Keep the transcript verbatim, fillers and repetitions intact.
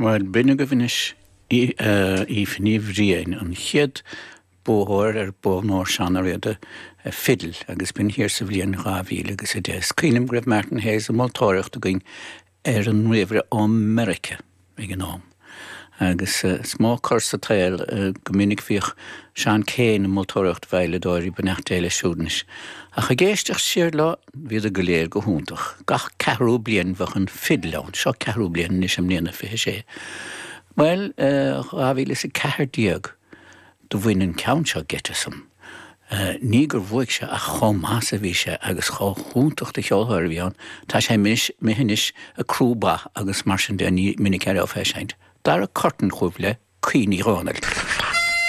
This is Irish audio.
Well b'in agaibh anois Aoife Ní Bhriain an chéad buaiteoir ar Bonn Ór Seán Ó Riada fidil agus b'in thiar sa bhliain dhá mhíle agus a deich. Is cuimhin liom go raibh Martin Hayes ag moltóireacht againn ar an ríomhaire ó Meiriceá ag an am. Agus is mó cor sa tsaol go minic bhíodh Seán Keane ag moltóireacht veidhleadóirí beannacht Dé leis siúd anois. Ach ag éisteacht siar leo bhíodar go léir go hiontach. Gach ceathrú bliain bheadh an fidil ann, seo ceathrú bliain anois i mbliana fiche sé. Well dhá mhíle is a ceathair déag do bhain an ceann seo geit asam. Ní gur bhuaigh sé ach chomh maith is a bhí sé agus chomh hiontach de cheoltóir a bhí ann. Tá sé imithe anois ag crú ba agus mar sin de ní minic a fheiscint. Dara Curtin chugaibh le Caoineadh Dhónaill.